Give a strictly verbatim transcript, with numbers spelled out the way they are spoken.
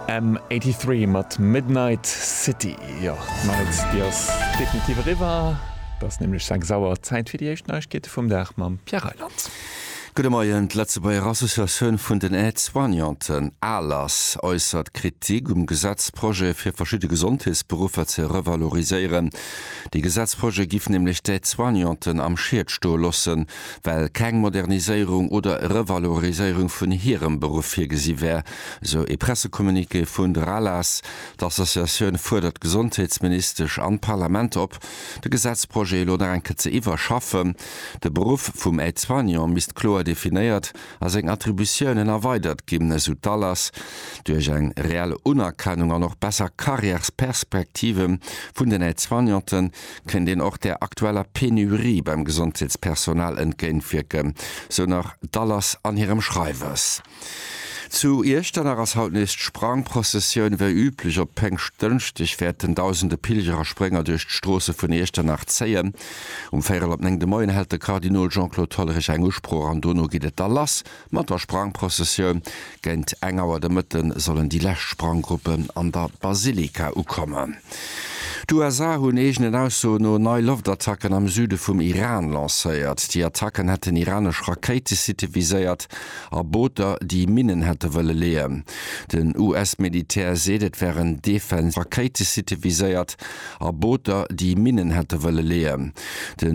M eighty-three mat Midnight City. Jo, d'Night, déi ass definitiv eriwwer. Et ass nämlech sechs Auer, Zäit fir déi éischt Neiegkeete vum Dag mam Pierre Reyland. Gudde Moien, D'Lëtzebuerger Associatioun vun den Aide-Soignanten, ALAS, äussert Kritik um Gesetzprojet fir verschidde Gesondheetsberuffer ze revaloriséieren. Dee Gesetzprojet giff nämlech d'Aide-Soignanten am Schiet stoe loossen, well keng Moderniséierung oder Revaloriséierung vun hirem Beruff virgesi wär, esou ee Pressecommuniqué vun der ALAS. D'Associatioun fuerdert d'Gesondheetsministesch an d'Parlament op, de Gesetzprojet elo nach eng Kéier ze iwwerschaffen. De Beruff vum Aide-soignant misst kloer definéiert a seng Attributiounen erweidert ginn, esou d'ALAS. Duerch eng reell Unerkennung an och besser Karriärsperspektive vun den Aide-soignanten kéint een och der aktueller Penurie beim Gesondheetspersonal entgéintwierken, sou nach d'ALAS an hirem Schreiwes. Zu Iechternach ass haut nees d'Sprangprozessioun. Wéi üblech op Péngschtdënschdeg wäerten dausende Pilger a Sprénger duerch d'Stroosse vun Iechternach zéien. Um véierel op néng de Moien hält de Kardinol Jean-Claude Hollerich eng Usprooch an dono geet et da lass mat der Sprangprozessioun. Géint eng Auer de Mëtte sollen déi lescht Spranggruppen an der Basilika ukommen. D'U S A hunn eegenen Aussoen no nei Loftattacken am Süde vum Iran lancéiert. Déi Attacken hätten iranesch Rakéitesitte viséiert a Booter, déi Minnen hätte wëlle leeën. Den U S-Militär seet, et wären Defen Rakéitesitte viséiert a Booter, déi Minnen hätte wëlle leeën. Den.